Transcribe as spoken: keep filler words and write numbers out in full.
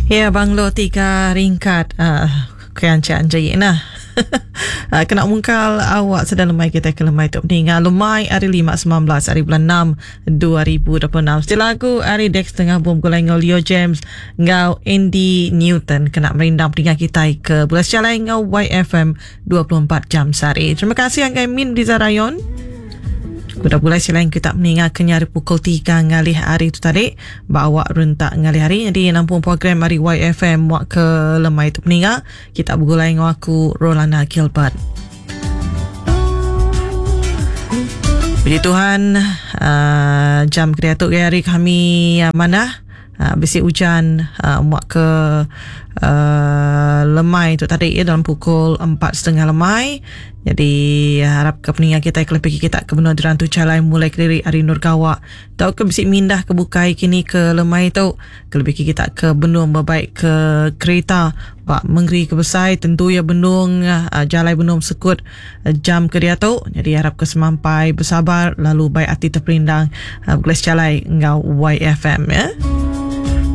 Ya, banglo tiga ringkat uh, kian cik anjing nah. Uh, kena mungkal awak sedang lemai kita ke lemai tu meninggal lemai hari lima sembilan belas hari bulan enam dua ribu dua puluh enam. Setelah lagu hari Dex tengah bom gulai ngau Leo James ngau Andy Newton kena merindang peninggal kita ke bulan sejalai ngau Y F M dua puluh empat jam sehari. Terima kasih anggai Min Riza Rayon. Kuda bulai selain kita meninggal kenyari pukul tiga ngalih hari itu tadi bawa rentak ngalih hari. Jadi nampung program hari Y F M wak ke lemai itu meninggal kita bergulai dengan aku Rolana Gilbert. Puji Tuhan, uh, jam kreatif hari kami uh, mana uh, bisi hujan uh, muak ke uh, lemai itu tadi ya, dalam pukul empat setengah lemai. Jadi harap ke peningan kita kelebih kita ke benua dirantu calai mulai kediri hari Nur Gawak tau ke bisi mindah ke bukai kini ke lemai tu kelebih kita ke benua berbaik ke kereta pak mengeri ke besai tentu ya benung uh, jalai benung sekut uh, jam ke dia tu. Jadi harap ke semampai bersabar lalu baik hati terperindang uh, gelas calai ngau Y F M ya.